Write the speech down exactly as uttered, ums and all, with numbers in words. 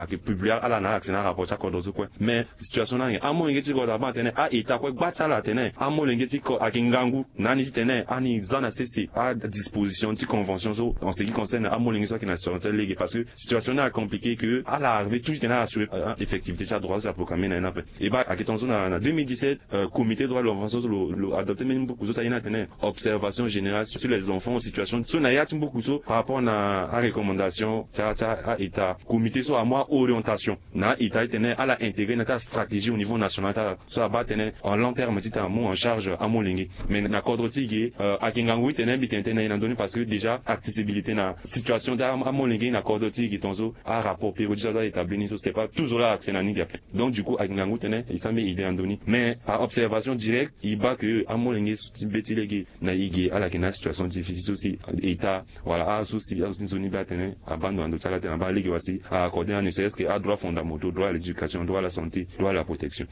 Ayeke publier ala na ala accès na arapport ti akodro so kue. Mais situation ni ayeke amolenge ti kodro abaa na tene a-état kue gba ti ala atene amolenge ti kodro ayeke ngangu na ani titene ani za na sese adisposition ti convention so en ce qui concerne amolenge so ayeke na situation ti lege, parce que situation ni ayeke compliqué que ala arrivé toujours titene ala assurer effectivité ti adroit so si aproclamé na ye ni ape. E baa ayeke tongaso na deux mille dix-sept, comité droit de l'enfant so lo adopté même buku so si aye ni atene observation générale sur les enfants en situation so na ya ti buku so par rapport na arecommandation ti a-état, comité so amu a-orientation na a-état titene ala intégré na ti astratégie au niveau national ti ala so abaa titene en long terme titene amu en charge amolenge. Mais na kodro ti e ge ayeke ngangu titene mbi tene tënë na e na ndö ni parce que déjà accessibilité na situation ti amolenge na kodro ti e ge tongaso arapport périodique so aza établi ni so c'est pas toujours la accès na ni ge ape. Donc du coup ayeke ngangu titene e sara mbeni idée na ndö ni, mais par observation directe e baa que amolenge so ti be ti lege na e ge ala yeke na asituation difficile so si état wala azo so si azo ti nzoni be atene abaa ndo na ndo ti ala titene abaa lege wala si a-accordé na ni ne serait-ce que adroit fondamentaux, droit à l'éducation, droit à la santé, droit à la protection.